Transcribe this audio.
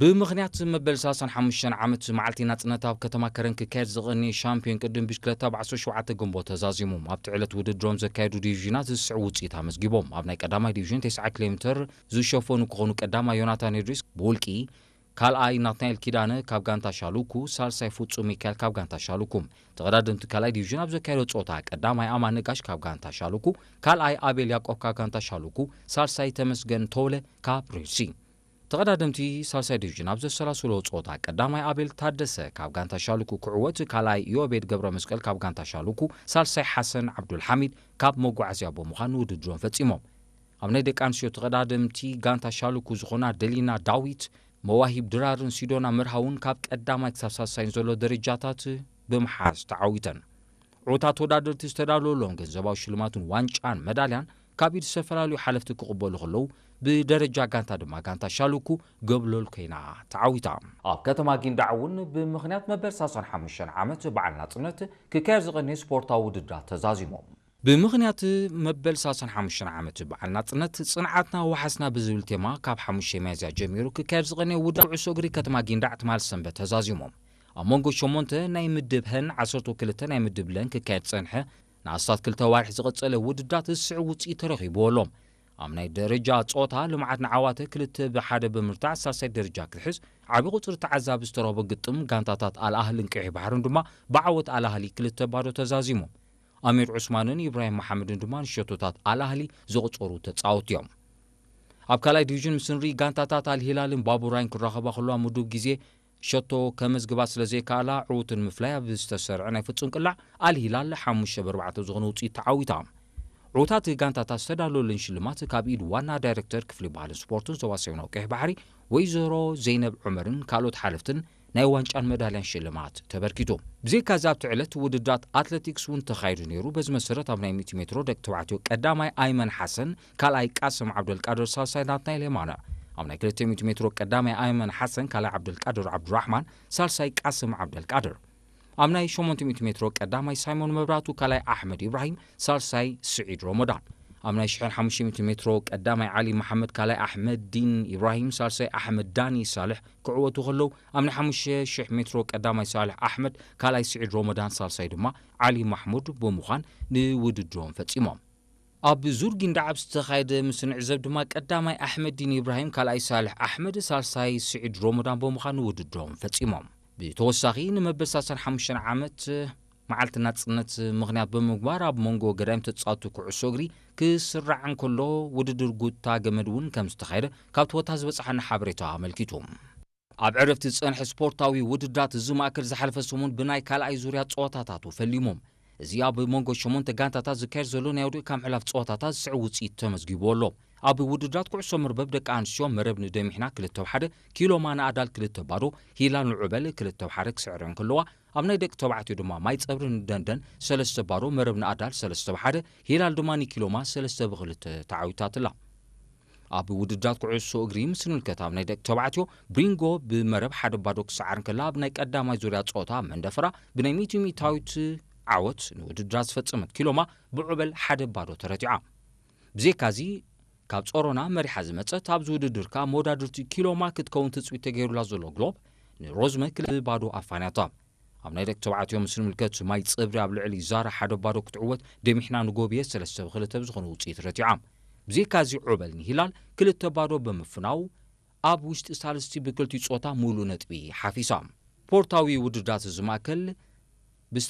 ብምኽንያት መበል ሰላሳን ሓሙሽተን ዓመት መዓልቲ ናጽነት ኣብ ከተማ ከረን ክካየድ ዝቐነየ ሻምፒዮን ቅድም ብሽክለታ ብ ዓሰርተ ሸውዓተ ግንቦት ተዛዚሞም ኣብቲ ዕለት ውድድሮም ዘካየዱ ዲቪዥናት ዝስዕብ ውጽኢት ኣመዝጊቦም። ኣብ ናይ ቀዳማይ ዲቪዥን ተስዓ ኪሎ ሜትር ዝሸፈኑ ክኾኑ ቀዳማይ ዮናታን ሄድሪስ ብውልቂ፣ ካልኣይ ናትናኤል ኪዳነ ካብ ጋንታ ሻሉኩ፣ ሳልሳይ ፍጹም ሚካኤል ካብ ጋንታ ሻሉኩ። ተቐዳደምቲ ካልኣይ ዲቪዥን ኣብ ዘካየዶ ጸወታ ቀዳማይ ኣማን ነጋሽ ካብ ጋንታ ሻሉኩ፣ ካልኣይ ኣቤል ያቆብ ካብ ጋንታ ሻሉኩ፣ ሳልሳይ ተመስገን ተውለ ካብ ሬድሲ። ተቐዳደምቲ ሳልሳይ ዲቪዥን ኣብ ዘሰላስሎ ጸወታ ቀዳማይ ኣቤል ታደሰ ካብ ጋንታ ሻሉኩ ክዕወት፣ ካልኣይ ዮቤድ ገብረ መስቀል ካብ ጋንታ ሻሉኩ፣ ሳልሳይ ሓሰን ዓብዱልሓሚድ ካብ መጓዓዝያ ብምዃን ውድድሮም ፈጺሞም። ኣብ ናይ ደቂ ኣንስትዮ ተቐዳደምቲ ጋንታ ሻሉኩ ዝኾና ደሊና ዳዊት፣ መዋሂብ ድራርን ሲዶና መርሃውን ካብ ቀዳማይ ክሳብ ሳልሳይን ዘሎ ደረጃታት ብምሓዝ ተዓዊተን። ዕዉታት ተወዳደርቲ ዝተዳለወሎም ገንዘባዊ ሽልማትን ዋንጫን መዳልያን ካብ ኢድ ዝተፈላለዩ ሓለፍቲ ክቕበሉ ከለዉ፣ ብደረጃ ጋንታ ድማ ጋንታ ሻሉኩ ገብሎል ኮይና ተዓዊታ። ኣብ ከተማ ጊንዳዕ እውን ብምኽንያት መበል ሰላሳን ሓሙሽተን ዓመት በዓል ናጽነት ክካየድ ዝቐነየ ስፖርታዊ ውድድራት ተዛዚሞም። ብምኽንያት መበል ሰላሳን ሓሙሽተን ዓመት በዓል ናጽነት ጽንዓትና ወሓስና ብዝብል ቴማ ካብ ሓሙሽተ ሚያዝያ ጀሚሩ ክካየድ ዝቐነየ ውድድር ኩዕሶ እግሪ ከተማ ጊንዳዕ ትማል ሰንበት ተዛዚሞም። ኣብ መንጎ ሸሞንተ ናይ ምድብ ሀን ዓሰርተ ክልተ ናይ ምድብ ለን ክካየድ ጸንሐ ንኣስታት ክልተ ዋርሒ ዝቐጸለ ውድድራት ዝስዕብ ውጽኢት ተረኺብዎ ኣሎ። ኣብ ናይ ደረጃ ጸወታ ልምዓት ንዓዋተ ክልተ ብሓደ ብምርታዕ ሳልሳይ ደረጃ ክትሕዝ፣ ዓቢ ቁጽሪ ተዓዛቢ ዝተረኽቦ ግጥም ጋንታታት ኣልኣህልን ቀይሕ ባሕርን ድማ ብዓወት ኣልኣህሊ ክልተ ባዶ ተዛዚሙ። ኣሚር ዑስማንን ኢብራሂም መሓመድን ድማ ንሸቶታት ኣልኣህሊ ዘቑጸሩ ተጻወትቲ እዮም። ኣብ ካልኣይ ዲቪዥን ምስ ንርኢ ጋንታታት ኣልሂላልን ባቡራይን ክራኸባ ከለዋ ምዱብ ግዜ ሸቶ ከመዝግባ ስለ ዘይከኣላ፣ ዕዉትን ምፍላይ ኣብ ዝተሰርዐ ናይ ፍጹም ቅላዕ ኣልሂላል ሓሙሽተ ብ ኣርባዕተ ዝኾነ ውጽኢት ተዓዊታ። ዕዉታት ጋንታታት ዝተዳለወለን ሽልማት ካብ ኢድ ዋና ዳይሬክተር ክፍሊ ባህልን ስፖርትን ዞባ ሰሜናዊ ቀይሕ ባሕሪ ወይዘሮ ዘይነብ ዑመርን ካልኦት ሓለፍትን ናይ ዋንጫን መዳልያን ሽልማት ተበርኪቱ። ብዘይካዚ ኣብቲ ዕለት ውድድራት ኣትለቲክስ እውን ተኻይዱ ነይሩ። በዚ መሰረት ኣብ ናይ ሚእቲ ሜትሮ ደቂ ተባዕትዮ ቀዳማይ ኣይመን ሓሰን፣ ካልኣይ ቃስም ዓብደልቃድር፣ ሳልሳይ ናትናኤል የማነ። ኣብ ናይ ክልተ ሚእቲ ሜትሮ ቀዳማይ ኣይመን ሓሰን፣ ካልኣይ ዓብደልቃድር ዓብዱራሕማን፣ ሳልሳይ ቃስም ዓብደልቃድር። ኣብ ናይ ሸሞንተ ሚእቲ ሜትሮ ቀዳማይ ሳይሞን መብራቱ፣ ካልኣይ ኣሕመድ ኢብራሂም፣ ሳልሳይ ስዒድ ሮሞዳን። ኣብ ናይ ሽሕን ሓሙሽተ ሚእቲ ሜትሮ ቀዳማይ ዓሊ መሓመድ፣ ካልኣይ ኣሕመድ ዲን ኢብራሂም፣ ሳልሳይ ኣሕመድ ዳኒ ሳልሕ ክዕወቱ ከለዉ፣ ኣብ ናይ ሓሙሽተ ሽሕ ሜትሮ ቀዳማይ ሳልሕ ኣሕመድ፣ ካልኣይ ስዒድ ሮሞዳን፣ ሳልሳይ ድማ ዓሊ ማሕሙድ ብምዃን ንውድድሮም ፈጺሞም። ኣብ ዙር ጊንዳዕ ኣብ ዝተኻየደ ምስ ንዕዘብ ድማ ቀዳማይ ኣሕመድ ዲን ኢብራሂም፣ ካልኣይ ሳልሕ ኣሕመድ፣ ሳልሳይ ስዒድ ሮሞዳን ብምዃን ውድድሮም ፈጺሞም። ብተወሳኺ ንመበል ሰላሳን ሓሙሽተን ዓመት መዓልቲ ናጽነት ምኽንያት ብምግባር ኣብ መንጎ ገዳይም ተጻወትቲ ኩዕሶ እግሪ ክስራዕ እንከሎ ውድድር ጉታ ገመድ እውን ከም ዝተኻየደ ካብቲ ቦታ ዝበጽሓና ሓበሬታ ኣመልኪቱ። ኣብ ዕረፍቲ ዝጸንሐ ስፖርታዊ ውድድራት እዚ ማእከል ዝሓለፈ ሰሙን ብናይ ካልኣይ ዙርያ ጸወታታቱ ፈሊሞም። እዚ ኣብ መንጎ ሸሞንተ ጋንታታት ዝካየድ ዘሎ ናይ ወዲቕካ ምሕላፍ ጸወታታት ዝስዕብ ውጽኢት ተመዝጊቡ ኣሎ። ኣብ ውድድራት ኩዕሶ መርበብ ደቂ ኣንስትዮ መረብ ንደሚሕና ክልተ ብ ሓደ፣ ኪሎማ ንኣዳል ክልተ ባዶ፣ ሂላል ንዑበል ክልተ ብ ሓደ ክስዕረን ከለዋ፣ ኣብ ናይ ደቂ ተባዕትዮ ድማ ማይ ጸብሪ ንደንደን ሰለስተ ባዶ፣ መረብ ንኣዳል ሰለስተ ብ ሓደ፣ ሂላል ድማ ንኪሎማ ሰለስተ ብ ክልተ ተዓዊታትላ። ኣብ ውድድራት ኩዕሶ እግሪ ምስ ንምልከት ኣብ ናይ ደቂ ተባዕትዮ ብሪንጎ ብመረብ ሓደ ባዶ ክሰዓር እንከላ፣ ኣብ ናይ ቀዳማይ ዙርያ ጸወታ መንደፈራ ብናይ ሚእቲ ሚእታዊት ዓወት ንውድድራ ዝፈጸመት ኪሎማ ብዑበል ሓደ ባዶ ተረቲዓ። ብዘይካዚ ካብ ጾሮና መሪሓ ዝመጸት ኣብዚ ውድድር ከኣ መወዳድርቲ ኪሎማ ክትከውን ትጽቢት ተገይሩላ ዘሎ ግሎብ ንሮዝመ ክልተ ባዶ ኣፋንያታ። ኣብ ናይ ደቂ ተባዕትዮ ምስ ንምልከት ማይ ጸብሪ ኣብ ልዕሊ ዛራ ሓደ ባዶ ክትዕወት ደሚሕና ንጎብየ ሰለስተ ብ ክልተ ብዝኾነ ውጽኢት ረቲዓ። ብዘይካዚ ዑበል ንሂላል ክልተ ባዶ ብምፍናው ኣብ ውሽጢ ሳልስቲ ብክልቲኡ ጾታ ሙሉእ ነጥቢ ሓፊሳ። ስፖርታዊ ውድድራት እዚ ማእከል